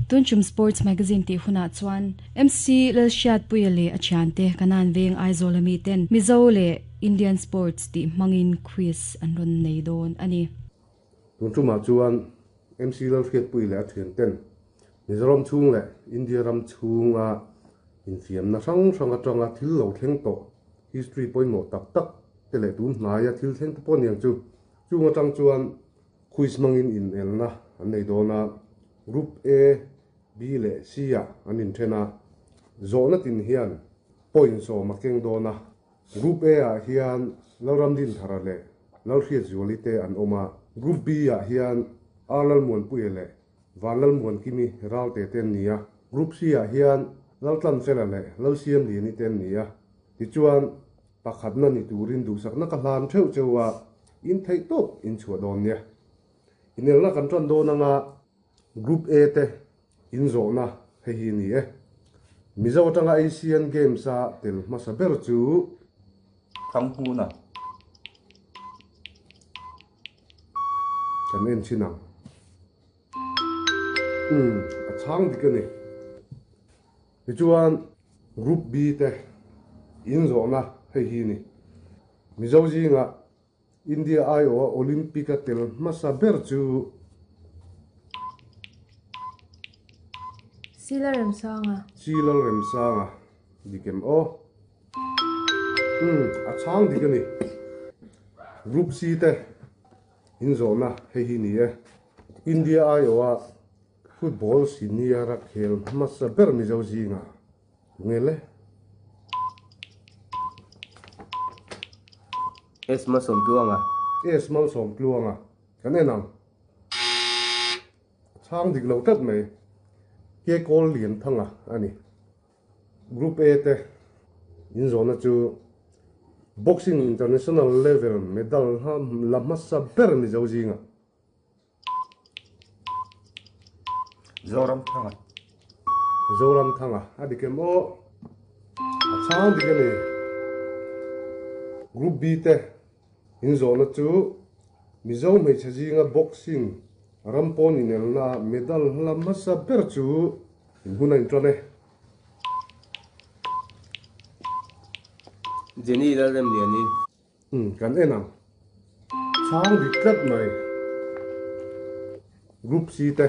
Tunchum Sports Magazine tih hunah chuan MC Lalhriatpuia leh a thiante Kanan Veng Aizawl ami ten Mizo leh Indian Sports tih hmangin quiz an rawn nei dawn a ni. Tun tumah chuan MC Lalhriatpuia leh a thianten Mizoram chhung leh India ram chhunga infiamna hrang hrang atanga thil lo thleng tawh history pawimawh tak tak te leh tun hnaia thil thleng te pawh aniang chu chung atang chuan Quiz hmangin inelna an nei dawn a, Group A, B leh C ah an inthen a, zawhna tin hian point sawm a keng dawn a. Group A ah hian Lalramdinthara leh Lalhriatzuali te an awm a, Group B ah hian R Lalmuanpuia leh Vanlalmuankimi Ralte te an ni a, Group C ah hian Laltlanfela leh Lalsiamliani te an ni a. Tichuan, Pakhatna ni turin duhsakna ka hlan theuh cheu a, in theih tawp in chhuah dawn nia. Inelna kan tan dawn anga Group A te in zawhna hei hi ni e. Mizo atanga Asian Games a tel hmasa ber chu. Thanghmuna. Kan en chhin ang. Umm, a chhang dik a ni. Tichuan Group B te in zawhna hei hi ni. Mizo zingah India aiawha Olympic a tel hmasa ber chu. Si Lalremsanga. Si Lalremsanga dik em aw? Umm, a chhang dik a ni. Group C te in zawhna hei hi ni e. India aiawha Football senior a khel hmasa ber Mizo zingah tunge le? S Malsawmtluanga. S Malsawmtluanga kan en ang. A chhang dik lo tlat mai. Ke Kawl Lianthanga a ni. Group A te inzawhna chu Boxing International level medal la hmasa ber Mizo zingah. Zoramthanga. Zoramthanga a dik em aw? A chhang dik a ni. Group B te inzawhna chu Mizo hmeichhe zinga boxing ram pawn inelna medal hla hmasa ber chu in hun a intan e. Jenny Lalremliani. Umm kan en ang. Chhang dik tlat mai. Group C te.